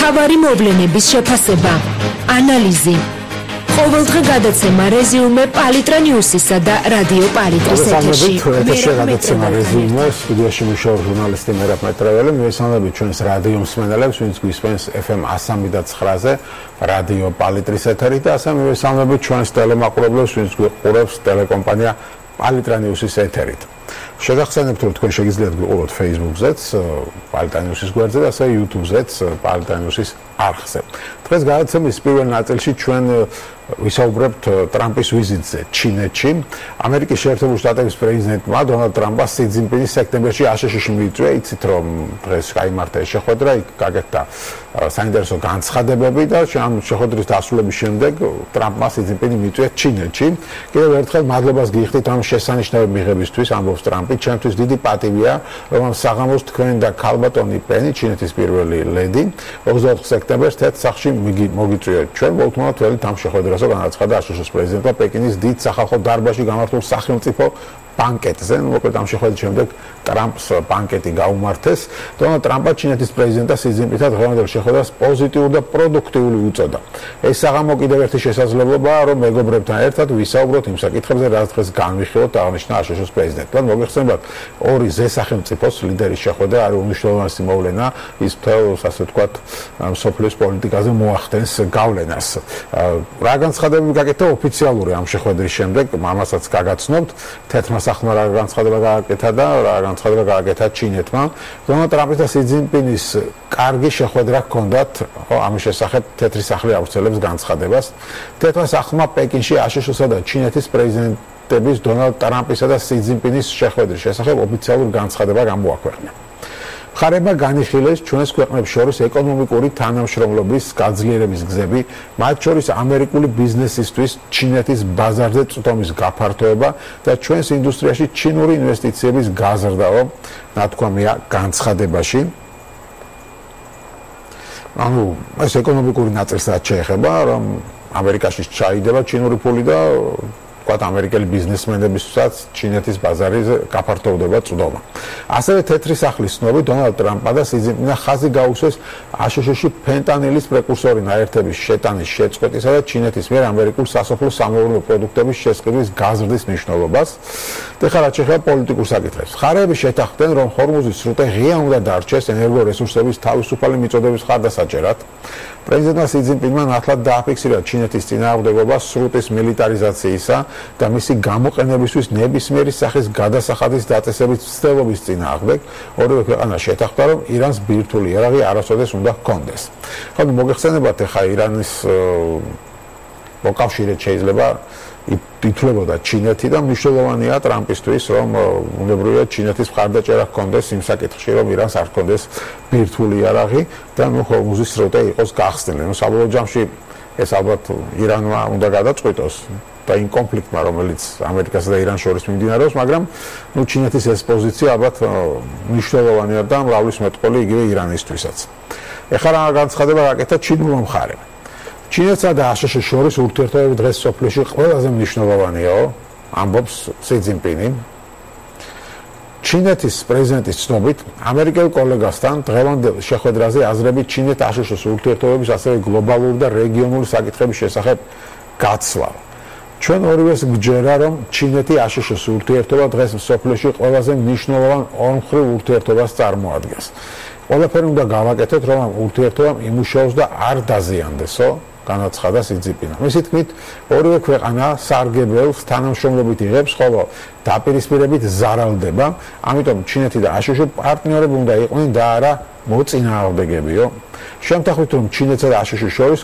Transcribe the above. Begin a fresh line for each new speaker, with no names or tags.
მთავარი მოვლენების შეფასება, ანალიზი. ყოველდღე გადაცემა რეზიუმე პალიტრა ნიუსისა და რადიო პალიტრის ეთერში.
გადაცემა რეზიუმე სტუდიაში მუშაობს ჟურნალისტი მერაბ მეტრეველი. მივესალმებით ჩვენს რადიო მსმენელებს, ვინც გვისმენს FM 103.9-ზე რადიო პალიტრის ეთერით და ასევე მივესალმებით ჩვენს ტელემაყურებლებს, ვინც გვიყურებს ტელეკომპანია პალიტრა ნიუსის ეთერით. შეგახსენებთ, რომ თქვენ შეგიძლიათ გვიყუროთ Facebook-ზეც, პალიტრა ნიუსის გვერდზე და ასევე YouTube-ზეც, პალიტრა ნიუსის არხზე. დღეს გადაცემის პირველ ნაწილში ჩვენ ვისაუბრებთ ტრამპის ვიზიტზე ჩინეთში. ამერიკის შეერთებული შტატების პრეზიდენტმა დონალდ ტრამპმა სი ძინპინის სექტემბერში აშშ-ში მიიწვია. იცით, რომ დღეს გაიმართა ეს შეხვედრა, იქ გაკეთდა საინტერესო განცხადებები და ამ შეხვედრის დასრულების შემდეგ ტრამპმა სი ძინპინი მიიწვია ჩინეთში. კიდევ ერთხელ მადლობას გიხდით ამ შესანიშნავი მიღებისთვის, ამბობს ტრამპი. ჩემთვის დიდი პატივია, რომ ამ საღამოს თქვენ და ქალბატონი პენი, ჩინეთის პირველი ლედი, 24 სექტემბერს თეთრ სახლში მოგიწვიეთ. ჩვენ მოვთმოთ თვალით ამ შეხვედრას განაცხადა აშშ-ის პრეზიდენტმა პეკინის დიდ სახალხო დარბაზში გამართულ სახელმწიფო ბანკეტზე. მოკლედ ამ შეხვედრის შემდეგ ტრამპს ბანკეტი გაუმართეს. დონალდ ტრამპმა ჩინეთის პრეზიდენტა სი ძინპინთან დღევანდელ შეხვედრას პოზიტიური და პროდუქტიული უწოდა. ეს საღამო კიდევ ერთი შესაძლებლობაა, რომ მეგობრებთან ერთად ვისაუბროთ იმ საკითხებზე, რაც დღეს განვიხილოთ, აღნიშნა აშშ-ის პრეზიდენტმა. მოგეხსენებათ, ორი ზესახელმწიფოს ლიდერის შეხვედრა არის უმნიშვნელოვანესი მოვლენა, ის მთელს, ასე ვთქვათ, მსოფლიოს პოლიტიკაზე მოახდენს გავლენას. რა განცხადებები გაკეთდა ოფიციალური ამ შეხვედრის შემდეგ, ამასაც გაგაცნობთ. თეთრმა სახლმა რა განცხადება გააკეთა და რა განცხადება გააკეთა ჩინეთმა. დონალდ ტრამპის და სი ძინპინის კარგი შეხვედრა ჰქონდათ, ხო, ამის შესახებ თეთრი სახლი აუცილებს განცხადებას. თეთრმა სახლმა პეკინში აშშ-სა და ჩინეთის პრეზიდენტების დონალდ ტრამპისა და სი ძინპინის შეხვედრის შესახებ ოფიციალური განცხადება გამოაქვეყნა. მხარეებმა განიხილეს ჩვენს ქვეყნებს შორის ეკონომიკური თანამშრომლობის გაძლიერების გზები, მათ შორის ამერიკული ბიზნესისთვის ჩინეთის ბაზარზე წვდომის გაფართოება და ჩვენს ინდუსტრიაში ჩინური ინვესტიციების გაზრდაო, ნათქვამია განცხადებაში. ანუ ეს ეკონომიკური ნაწილსაც შეეხება, რომ ამერიკაში ჩაიდება ჩინური ფული და ამერიკელი ბიზნესმენებისაც ჩინეთის ბაზარზე გაფართოვდება წვდომა. ასევე თეთრი სახლის ცნობით დონალდ ტრამპმა და სი ძინპინმა ხაზი გაუსვეს აშშ-ში ფენტანილის პრეკურსორი ნაერთების შეტანის შეწყვეტისა და ჩინეთის მიერ ამერიკულ სასოფლო სამეურნეო პროდუქტების შესყიდვის გაზრდის მნიშვნელობას. ეხლა რაც შეეხება პოლიტიკურ საკითხებს. მხარეები შეთანხმდნენ, რომ ჰორმუზის სრუტე ღია უნდა დარჩეს ენერგორესურსების თავისუფალი მიწოდების მხარდასაჭერად. პრეზიდენტმა სი ძინპინმა ნათლად დააფიქსირა ჩინეთის წინააღმდეგობა სრუტის მილიტარიზაციისა და მისი გამოყენებისთვის ნებისმიერი სახის გადასახადის დაწესების ცდილობის წინააღმდეგ. ორივე ქვეყანა შეთანხმდა, რომ ირანს ბირთვული იარაღი არასოდეს უნდა ჰქონდეს. ხო, მოგეხსენებათ, ეხა ირანის მოკავშირედ შეიძლება ითვლებოდა ჩინეთი და მნიშვნელოვანია ტრამპისთვის, რომ უნებრივია ჩინეთის მხარდაჭერა ჰქონდეს იმ საკითხში, რომ ირანს არ ჰქონდეს ბირთვული იარაღი და ჰორმუზის სრუტე იყოს გახსნილი. საბოლოო ჯამში ეს ალბათ ირანმა უნდა გადაწყვიტოს და იმ კონფლიქტმა, რომელიც ამერიკასა და irans შორის მიმდინარეობს, მაგრამ ჩინეთის ეს პოზიცია ალბათ მნიშვნელოვანია და მრავლის მეტყოლი იგივე ირანისთვისაც. ეხლა რა განცხადება გაკეთა ჩინურმა მხარემ. ჩინეთსა და აშშ-ის შორის ურთიერთობები დღეს სოფლიოში ყველაზე მნიშვნელოვანიაო, ამბობს სი ძინპინი. ჩინეთის პრეზიდენტის ცნობით, ამერიკელ კოლეგასთან დღევანდელ შეხვედრაზე აზრები ჩინეთ-აშშ-ის ურთიერთობების ასევე გლობალური და რეგიონული საკითხების შესახებ გაცვალა. ჩვენ ორივეს გჯერა, რომ ჩინეთი-აშშ-ის ურთიერთობა დღეს სოფლიოში ყველაზე მნიშვნელოვან ორმხრივ ურთიერთობას წარმოადგენს. ყველაფერი უნდა გავაკეთოთ, რომ ამ ურთიერთობამ იმუშაოს და არ დაზიანდესო, განაცხადა სი ძინპინმა. მისი თქმით, ორივე ქვეყანა სარგებელს თანამშრომლობით იღებს, ხოლო დაპირისპირებით ზარალდება, ამიტომ ჩინეთი და აშშ პარტნიორები უნდა იყვნენ და არა მოწინააღმდეგებიო. შემთხვევით, რომ ჩინეთსა და აშშ-ის შორის